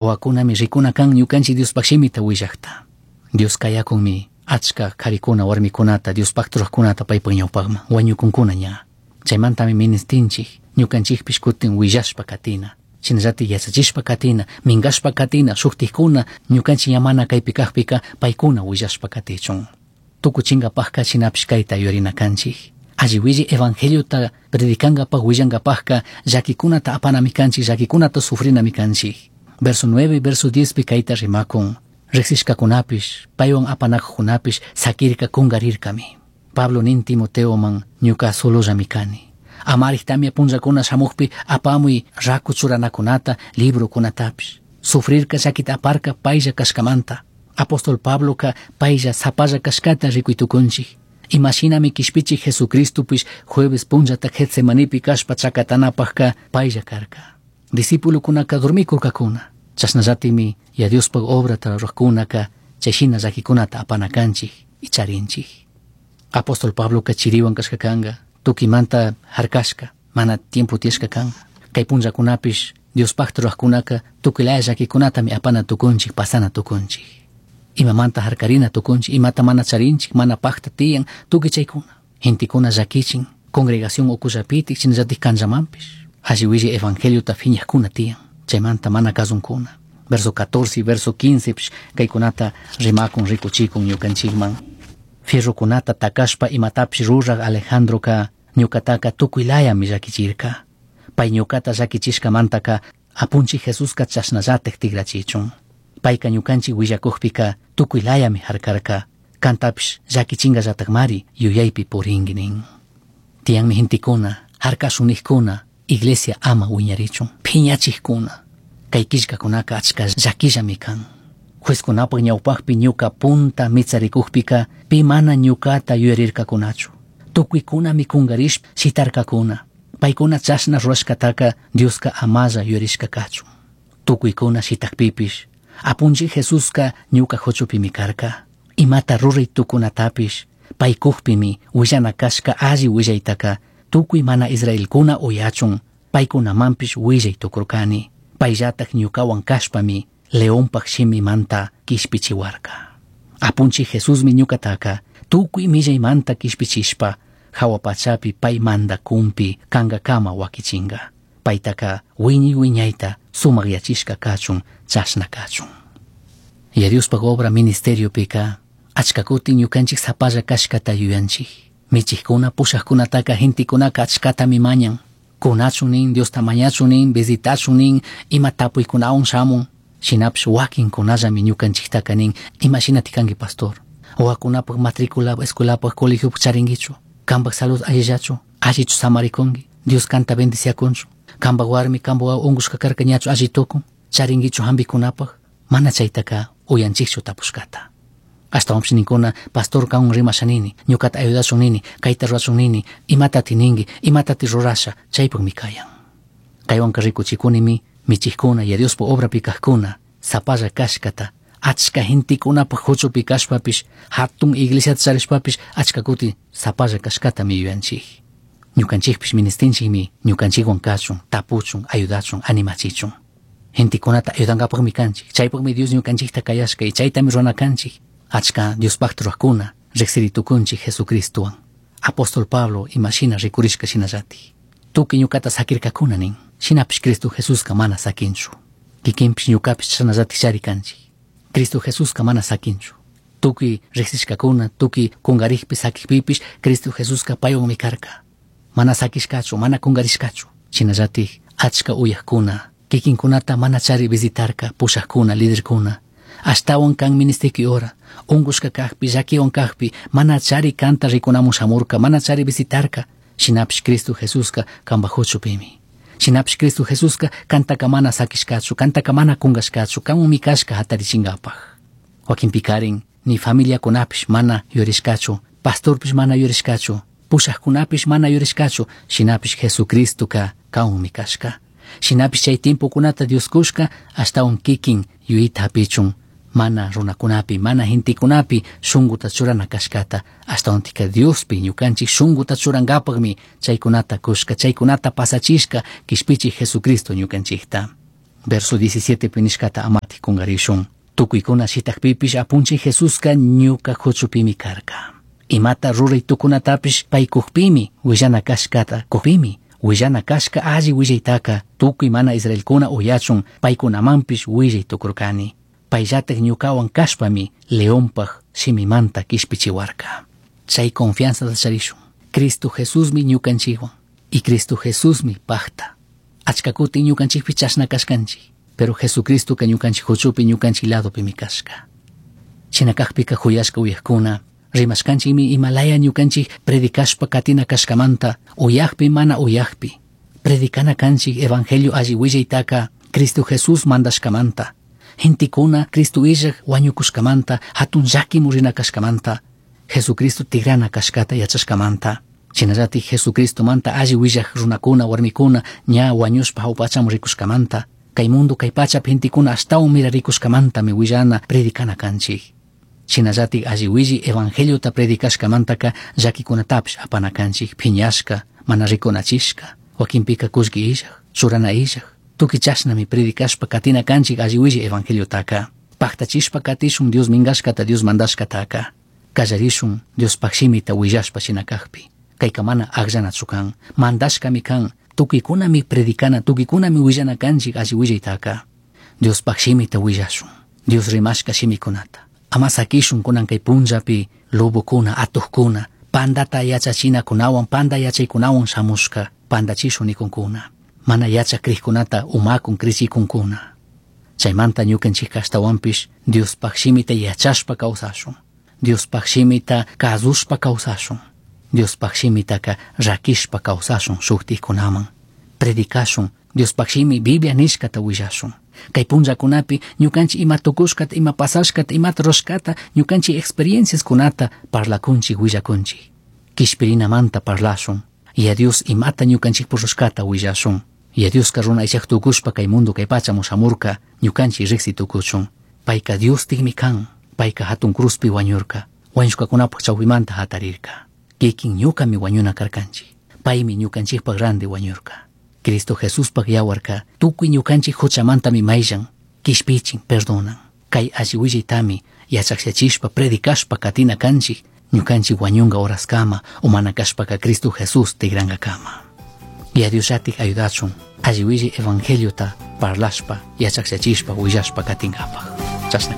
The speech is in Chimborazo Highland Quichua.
Wawakunami rikuna kan ñukanchik Diospaj shimita willajta. Dios kayakunmi achka karikuna warmikunata Diospajta rurajkunata paypaj ñawpajman wañukunkuna ña. Chaymantami ministinchik ñukanchikpish kutin willashpa katina. Shinallatik yachachishpa katina, minkashpa katina, shuktikuna ñukanchik ña mana kaypi kajpika paykuna willashpa katichun. Tukuchinkapajka shinapish kayta yuyarina kanchik. Alli willi evangeliota predicankapaj willankapajka llakikunata apanami kanchik, llakikunata sufrinami kanchik. Verso 9, verso 10 pi kayta rimakun. Riksishkakunapish, paywan apanakujkunapish sakirka kungarirkami. Pablo nin Timoteoman ñuka solollami kani. Amarij tamia punllakuna shamukpi apamuy raku churanakunata, librokunatapish. Sufrirka llakita aparka paylla kashkamanta. Apóstol Pabloka paylla sapalla kashkata rikuy tukunchik. Imashinami kishpichik Jesucristopish jueves punllata Getsemanipi kashpa chakatanapajka paylla karka. Discipulokunaka dormikurkakuna. Chashnallatimi ya Diospaj obrata rurajkunaka chayshina llakikunata apana kanchik y charinchik. Apóstol Pabloka chiriwan kashka kanka, tukimanta harkashka, mana tiempo tiyashka kanka. Kay punllakunapish Diospajta rurajkunaka tukuylaya llakikunatami apana tukunchik, pasana tukunchik. Imamanta harkarina tukunchik, imata mana charinchik, mana pakta tiyan, tukuy chaykuna. Gentekuna llakichin, congregación ukullapitik, shinallatik kanllamanpish. Alli willi evangeliota phiñajkuna tiyan, chaymanta mana kasunkuna. Verso 14 y verso 15 pish kaykunata rimakun rikuchikun ñukanchikman. Fierrokunata takashpa imatapish ruraj Alejandroka ñukataka tukuylayami llakichirka. Pay ñukata llakichishkamantaka apunchik Jesuska chashnallatik tigrachichun. Payka ñukanchik willakukpika tukuylayami harkarka. Kantapish llakichingallatakmari yuyaypi purinki nin. Tiyanmi gentekuna, harkashunikkuna, iglesia ama wiñarichun, phiñachikkuna. Kay killkakunaka achka llakillami kan. Juezkunapaj ñawpajpi ñuka punta mitsarikukpika pi mana ñukata yuyarirkakunachu. Tukuykunami kungarishpa shitarkakuna. Paykuna chashna rurashkataka Dioska amalla yuyarishka kachun. Tukuykuna shitakpipish apunchik Jesuska ñuka huchupimi karka. Imata ruray tukunatapish paykukpimi willana kashka alli willaytaka tukuy mana israelkuna uyachun paykunamanpish willay tukurkani. Payllatak ñukawan kashpami leonpaj shimimanta kishpichiwarka. Apunchik Jesusmi ñukataka tukuy millaymanta kishpichishpa hawa pachapi pay mandakunpi kankakama wakichinka. Paytaka wiñay wiñayta sumakyachishka kachun chashna kachun. Ya Diospaj obra ministeriopika achka kutin ñukanchik sapalla kashkata yuyanchik. Michikkuna pushakkunataka gentekunaka achkatami mañan. Kunachun nin, Diosta mañachun nin, visitachun nin, ima tapuykunawan shamun. Shinapish wakinkunallami ñukanchiktaka nin, imashinati kanki pastor. Wawakunapaj matrícula escuelapaj colegiopaj charinkichu. Kanpaj salud allillachu, allichu samarikunki. Dios kanta bendiciakunchu. Kanpaj warmi, kanpaj wawa unkushka karka ñachu alli tukun. Charinkichu hampikunapaj. Mana chaytaka uyanchikchu tapushkata. Ashtawanpish ninkuna, pastor kanwan rimasha nini, ñukata ayudashun nini, kayta rurashun nini, imatati ninki, imatati rurasha, chaypukmi kayan. Kaywanka rikuchikunimi michikkuna ya Diospaj obrapi kajkuna, sapalla kashkata, achka gentekunapaj huchupi kashpapish, hatun iglesiata charishpapish, achka kuti sapalla kashkatami yuyanchik. Ñukanchikpish ministinchikmi ñukanchikwan kachun, tapuchun, ayudachun, animachichun. Gentekunata ayudankapakmi kanchik, chaypakmi Dios ñukanchikta kayashka y chaytami rurana kanchik. Achka Diospajta rurajkuna riksiri tukunchik Jesucristowan. Apóstol Pablo imashina rikurishka shinallatik. Tukuy ñukata sakirkakuna nin, shinapish Cristo Jesuska mana sakinchu. Kikinpish ñukapish chashnallatik chari kanchik. Cristo Jesuska mana sakinchu. Tukuy riksishkakuna, tukuy kungarikpi sakikpipish Cristo Jesuska paywanmi karka. Mana sakishkachu, mana kungarishkachu. Shinallatik achka uyakkuna, kikinkunata mana chari visitarka, pushakuna, liderkuna. Ashtawan kan ministiki hora, unkushka kakpi, llakiwan kakpi, mana chari kanta rikunamun shamurka, mana chari visitarka. Shinapish Cristo Jesuska kanpaj huchupimi. Shinapish Cristo Jesuska kantaka mana sakishkachu, kantaka mana kunkashkachu, kanwanmi kashka hatarichinkapaj. Wakinpikarin ni familiakunapish mana yurishkachu, pastorpish mana yurishkachu, pushakkunapish mana yurishkachu, shinapish Jesucristoka kanwanmi kashka. Shinapish chay tiempokunata Dios kushka ashtawan kikin yuyayta hapichun, mana runakunapi, mana gentekunapi shunkuta churana kashkata, ashtawantika Diospi ñukanchik shunkuta churankapakmi chaykunata kushka, chaykunata pasachishka kishpichik Jesucristo ñukanchikta. Verso 17 pi nishkata amatik kungarishun. Tukuykuna shitakpipish apunchik Jesuska ñuka huchupimi karka. Imata ruray tukunatapish pay kukpimi willana kashkata kukpimi willana kashka alli willaytaka tukuy mana israelkuna uyachun paykunamanpish willay tukurkani. Payllatak ñukawan kashpami leonpaj shimimanta kishpichiwarka. Chay confianzata charishun. Cristo Jesusmi ñukanchikwan y Cristo Jesusmi pajta. Achka kutin ñukanchikpi chashna kashkanchik, pero Jesucristoka ñukanchik huchupi ñukanchik ladopimi kashka. Shina kakpika huyashka uyajkuna, rimashkanchikmi imalaya ñukanchik predicashpa katina kashkamanta, uyajpi mana uyajpi. Predicana kanchik evangelio alli willaytaka Cristo Jesús mandashkamanta. Gentekuna Cristo illaj wañukushkamanta, hatun llaki murina kashkamanta, Jesucristo tigrana kashkata yachashkamanta. Shinallatik Jesucristomanta alli willaj runakuna warmikuna ña wañushpa hawpachamun rikushkamanta, kay mundo kay pachapi gentekuna ashtawan mirarikushkamantami willana predicana kanchik. Shinallatik alli willi evangeliota predicashkamantaka llakikunatapish apana kanchik, phiñashka, mana rikunachishka, wakinpika kullki illaj, churana illaj, tukuy chashnami predicashpa katina kanchik alli willi evangeliotaka. Paktachishpa katishun Dios minkashkata, Dios mandashkataka. Kallarishun Diospaj shimita willashpa shina kakpi. Kayka mana akllanachu kan, mandashkami kan, tukuykunami predicana, tukuykunami willana kanchik alli willaytaka. Diospaj shimita willashun, Dios rimashka shimikunata. Ama sakishun kunan kay punllapi lobokuna, atukuna, pandata yachachinakunawan, panda yachaykunawan shamushka, pandachishun nikunkuna. Mana yachak krikkunata umakun krichikunkuna. Chaymanta ñukanchik ashtawanpish Diospaj shimita yachashpa kawsashun. Diospaj shimita kazushpa kawsashun. Diospaj shimitaka rakishpa kawsashun shuktikkunaman. Predicashun, Diospaj shimi Biblia nishkata willashun. Kay punllakunapi ñukanchik ima tukushkata, ima pasashkata, imata rurashkata, ñukanchik experienciaskunata parlakunchik, willakunchik. Kishpirinamanta parlashun. Y a Dios imata ñukanchik rushkata willashun. Y a Dioska runa aychaj tukushpa kay mundo kay pachamun shamurka, ñukanchik riksi tukuchun. Payka Dios tikmi kan, payka hatun cruzpi wañurka, wañushkakunapaj chawpimanta hatarirka. Kikin ñukami wañuna karkanchik, paymi ñukanchikpaj randi wañurka. Cristo Jesuspaj yawarka tukuy ñukanchik huchamantami mayllan, kishpichin, perdonan. Kay alli willaytami yachakllachishpa, predicashpa katina kanchik, ñukanchik wañunga horaskama, o mana kashpaka Cristo Jesús tigrankakama. Y a Dios llatik ayudachun, alli willay evangeliota parlashpa, yachakllachishpa, willashpa katinkapaj. Chashna.